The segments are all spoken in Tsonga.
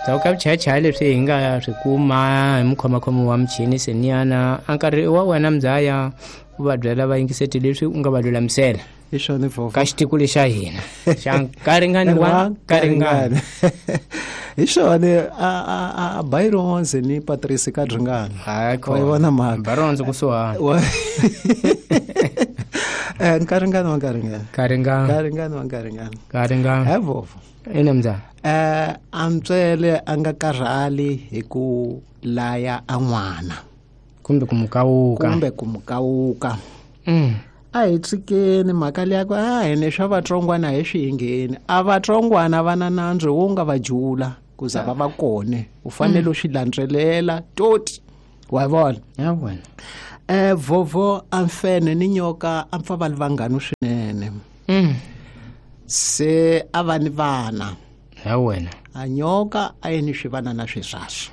Ndzhaku ka vuchayachaya leswi hi nga swi kuma hi mukhomakhomi wa muchini seniyana, a nkarhi wa wena mzaya u va byela vayingiseti leswi u nga va lulamisela Hi swona, Vovo. Ka xitiko lexa hina xa nkaringani wa nkaringani. Hi swona, a Byronze ni Patrice ka Dringana. Hayi. Wa yi vona mhaka? Byronze kusuhani. Nkaringani wa nkaringani. Nkaringani. Nkaringani wa nkaringani. Nkaringani. He Vovo. Ina mzaya. A ntswele a nga karhali hi ku laya a n'wana. Kumbe ku mukawuka. Kumbe ku mukawuka. A hi tshikeni mhaka liya ku a hene swa vatsongwana hi swi hingheni. A vatsongwana va na nandzu wo nga va jula ku za va va kone. U fanele u swi landzelela toti. Wa vona? Ya vona. Vovo a mfene ni nyoka a pfa va li vanghani swinene. Se a va ni vana. Ya wena. A nyoka a yi ni swivanana swiswaswo.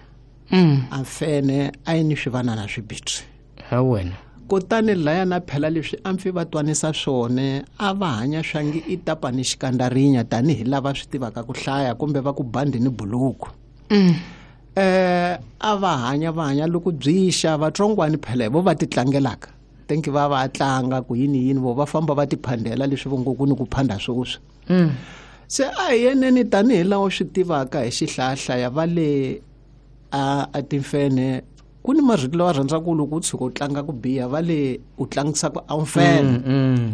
A mfene a yi ni swivanana swibitsi. Ya wena. Kutani laya na phela leswi a mpfi va twanisa swona a va hanya swangi i tapa ni xikandarinya tanihi lava swi tivaka ku hlaya kumbe va ku bandi ni buluku. A va hanya va hanya loko byi xa vatsongwani phela hi vo va ti tlangelaka. Thank you, va va tlanga ku yini yini vo va famba va ti phandela leswi vo ngo ku ni ku phanda sweswi. Se a hi yeneni tanihi laha u swi tivaka hi xihlayahlaya va le a timfenhe ku ni marito lawa rhandzaka ku loko u tshuka u tlanga ku biha va le u tlangisa ku a wu mfenhe.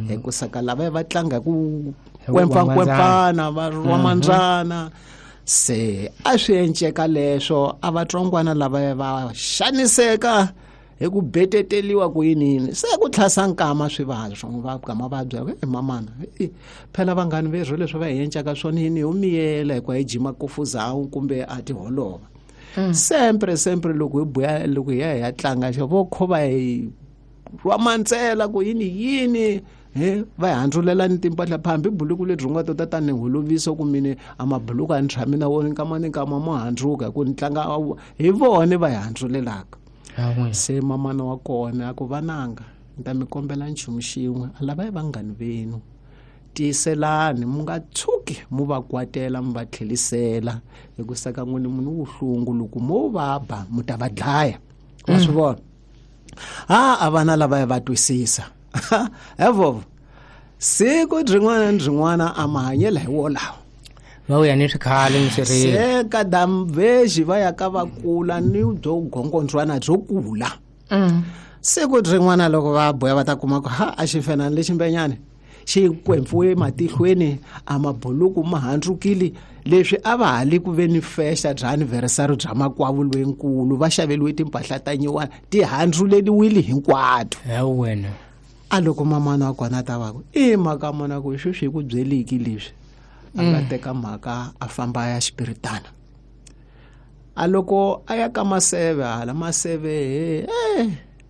Hi ku saka lava va tlanga ku Hi ku kwempfankwempfana, va rhwa mandzana. Se a swi enceka leswo a vatsongwana lava va xaniseka hi ku beteteliwa ku yini yini. Se ku tlhasa nkama swi va swo va gama va byela ku, mamana, phela vanghani verhu leswi va hi encaka swona yini ho miyela hikuva hi jima kofuzawu kumbe a ti holova. Sempre, sempre loko hi buya, loko hi ya hi ya tlanga xo vo kho va hi rhwa mantsela ku yini yini, he, va hi handzulela ni timpahla phambi buluku lebyi nga tota tani holovisa ku mine a mabuluku a ni tshami na wona nkama ni nkama mo handzuka hi ku ni tlanga hi vona va hi handzulelaka. Se mamana wa kona a ku vananga ni ta mi kombela nchumu xin'we, a lava hi vanghani venu, tiyiselani mu nga tshuki mu va kwatela mu va tlhelisela hi ku saka n'wini munhu vuhlungu loko mo va ba mu ta va dlaya. Wa swi vona? Ha, a vana lava va twisisa. He Vovo, siku byin'wana ni byin'wana a mahanyelo hi wolawo. Va vuya ni swikhale ni swirilo. Se ka damveji va ya ka va kula ni byo gongondzwana byo kula. Siku rin'wana loko va boya va ta kuma ku ha a xi fenani lexi mbenyane xi kwempfuwe matihlweni a mabuluku ma handzukile leswi a va ha li ku ve ni festa bya anniversary bya makwavo loyinkulu va xaveliwe timpahla ta nyiwana ti handzuleliwile hinkwato. Ya wena. A loko mamana wa kona ta va ku i mhaka mona ku sweswi hi ku byeliki leswi a nga teka mhaka a famba a ya xipiritana. A loko a ya ka maseve hala maseve he,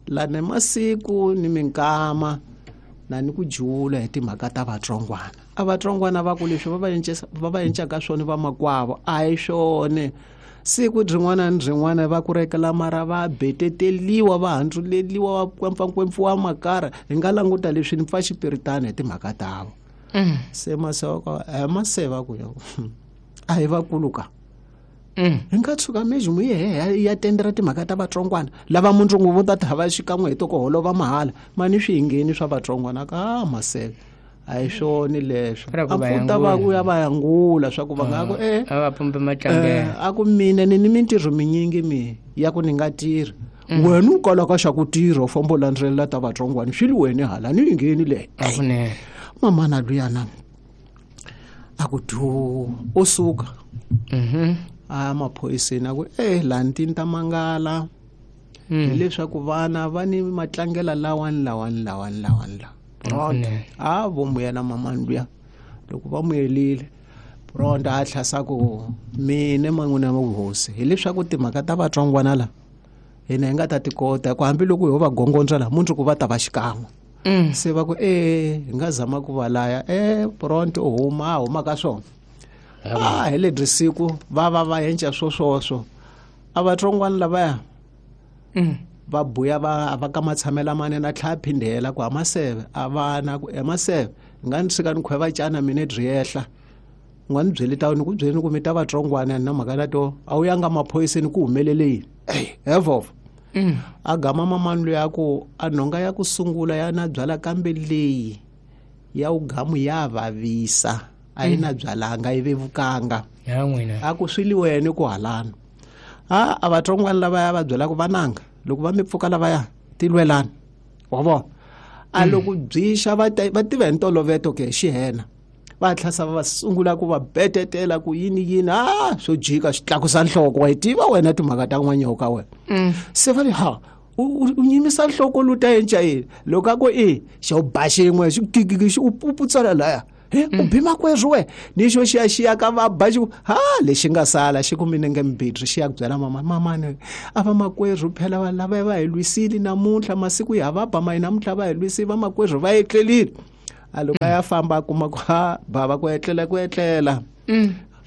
lane masiku ni minkama na ni ku jula hi timhaka ta vatsongwana. A vatsongwana va ku leswi va va encesa, va va encaka swona va makwavo a hi swona. Siku rin'wana ni rin'wana va ku rekela mara va beteteliwa va handzuleliwa va kwempfankwempfuwa makara. Hi nga languta leswi ni pfa xipiritana hi timhaka tavo. Se maseve maseve va ku yo, a hi vakulu ka. Hi nga tshuka mezi mu ye he ya tendera timhaka ta vatsongwana lava mundzuku vo ta ta va xikan'we hi to ku holova mahala mani swi hingheni swa vatsongwana ka maseve a hi swona leswo. Ra ku A va pfuta va yangula. ku ya va yangula swa ku va nga ku, A va pumbe matlangelo. A ku mina ni ni mintirho minyingi mi ya ku ni nga tirhi. Wena u kalaka xa ku tirha u famba u landzelela ta vatsongwana swi li wena hala ni yingheni le. A kunene. Mamana luyana a ku dyu u suka. A maphoyiseni a ku, laha ni ta mangala. Hileswaku vana va ni matlangela lawani, lawani, lawani, lawani, lawa. Pronto. A vo muyela mamani luya. Loko va muyelile, pronto a tlhasa ku mina man'wina wa vuhosi. Hileswaku timhaka ta vatsongwana la hina hi nga ta ti kota ku hambiloko ho va gongondza la mundzuku va ta va xikan'we. Se va ku, hi nga zama ku va laya. Pronto u huma, a huma ka swona. A hi lebyi siku va va va enca swo swoswo. A vatsongwana lavaya va buya va ka matshamela mane na tlhaya phindela ku a maseve a vana ku e maseve nga ni tshika ni khweva cana mina byi yehla. U nga ni byeli ta ni ku byeli ku mi ta vatsongwana na mhaka na to a wu yanga maphoyiseni ku humelele yini he vova. A gama mamani loyi a ku a nhonga ya ku sungula ya na byala kambe leyi ya ugamu ya vavisa a yi na byalanga yi vevukanga a ku swi liwene ku halana a vatsongwana lavaya va byelaka vananga loko va mi pfuka lavaya tilwelani wa vona a loko byixa va tiva hi ntoloveto ke xihena va tlhasa va sungula ku va betetela ku yini yini a swo jika xi tlakusa nhloko wa yi tiva wena timhaka ta n'wanyoka wena se va ri ha u nyimisa nhloko lu ta enca yini loko a ku i xo ba xin'we xi kikiki xi u putsala laya he u bi makwerhu we ni xo xiya xiya ka va ba xi ha lexi nga sala xi ku minenge mbitri xi ya ku byela mama mamani a va makwerhu phela va lava va hi lwisile namuntlha masiku ya va ba mayi namuntlha va hi lwisile va makwerhu va etlelile a loko a ya famba a kuma ku ha bava ku etlela ku etlela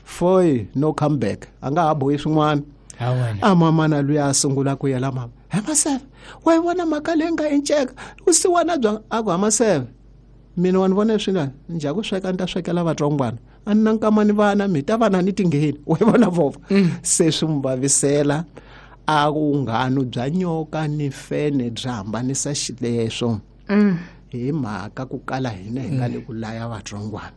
foyi no come back a nga ha bohi swin'wana a mamana luya a sungula ku yela mama he maseve wa yi vona mhaka leyi nga enceka vusiwana bya a ku ha maseve mina wa ni vona leswi nga njha ku sweka ni ta swekela vatsongwana a ni na nkama ni vana mi ta vana ni tingheni wa yi vona vova se swi n'wi vavisela a vunghano bya nyoka ni fene byi hambanisa xileswo hi mhaka ku kala hina hi nga le ku laya vatsongwana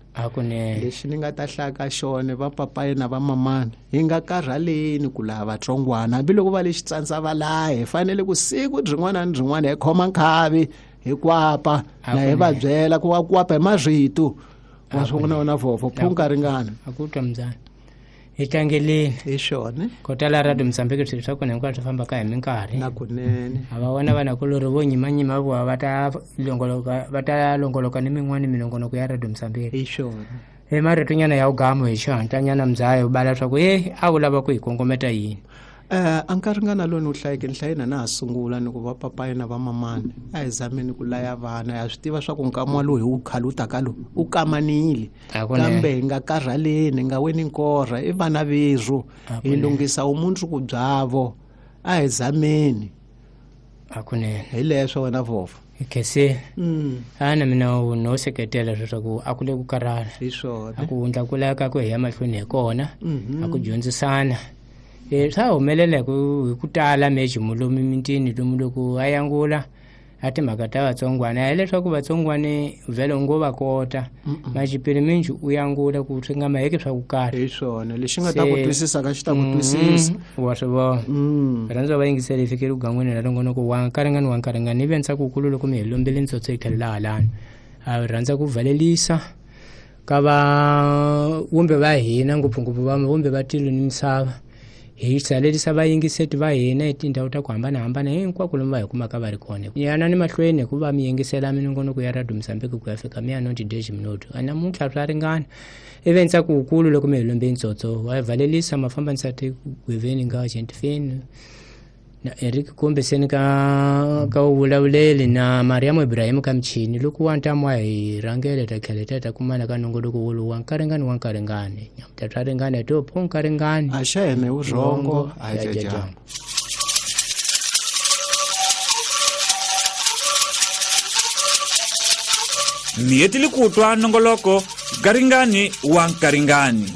lexi ni nga ta hlaya ka xona va papayi na va mamani hi nga karhaleni ku laya vatsongwana hambiloko va le xitsandza va laya hi fanele ku siku byin'wana ni byin'wana hi khoma nkhavi hi kwapa na hi va byela ku wa kwapa hi marito wa swi vona wena vhofo phunka ringana a ku twa mbyana hi tlangeleni hi swona ko tala radio Mozambique swilo swa kona hinkwaswo swi fambaka hi minkarhi na kunene a va vona vanakulorhi vo nyimanyima voha va ta longoloka va ta longoloka ni min'wana minongonoko ya radio Mozambique hi swona hi maritonyana ya ugamu hi xihatlanyana mzaya u bala swa ku e a wu lava ku hi kongometa yini a nkarhi lowu ni wu hlayeke ni hlayena na ha sungula ni ku va papayi na va mamani a hi zameni ku laya vana ya swi tiva swa ku nkama lowu hi wu khalutaka lowu u kamanile kambe hi nga karhaleni hi nga weni nkorha i vana verhu hi lunghisa vumundzuku byavo a hi zameni hakunene hi leswo wena vhova hi khensile a na mina no seketela leswaku a ku le ku karhala hi swona a ku wundla ku laya ka ku hi ya mahlweni hi kona a ku dyondzisana swa humelela hi ku tala mejimu lomu mitini lomu loko a yangula a timhaka ta vatsongwana hileswaku vatsongwani vhele u ngo va kota maxipiri minji u yangula ku swi nga maheki swa ku karhi hi swona lexi nga ta ku twisisa ka xi ta ku twisisa wa swi vona rhandza va yingisela hi fikele kugangweni ra nongonoko wa nkaringani wa nkaringani ni ve ntsakukulu loko mi hi lombele ntsotso hi tlhelo laha lani a rhandza ku valelisa ka va vumbe va hina ngopfungopfu va vumbe va tilo ni misava hi salerisa vayingiseti va hina hi tindhawu ta ku hambanahambana hinkwako lomu va hi kumaka va ri kona yanani mahlweni hikuva mi yingisela minongonoko ya radio Mozambique ku ya fika mi ya 90 minuto namuntlha swa ringana ivi ntsako wukulu loko mi hi lombe ntsotso wa valelisa mafambanisa tigweveni nga gentifeni na Eric kumbeseni ka vulavuleli na Mariam Ibrahim ka michini loko wa ntamu wa hi rhangele ta tlhela ta kumana ka nongonoko wolowu wa nkaringani wa nkaringani nyamuta swa ringana to pho nkaringani a xa heme vurhongo a jajambo mi hetile ku twa nongoloko nkaringani wa nkaringani.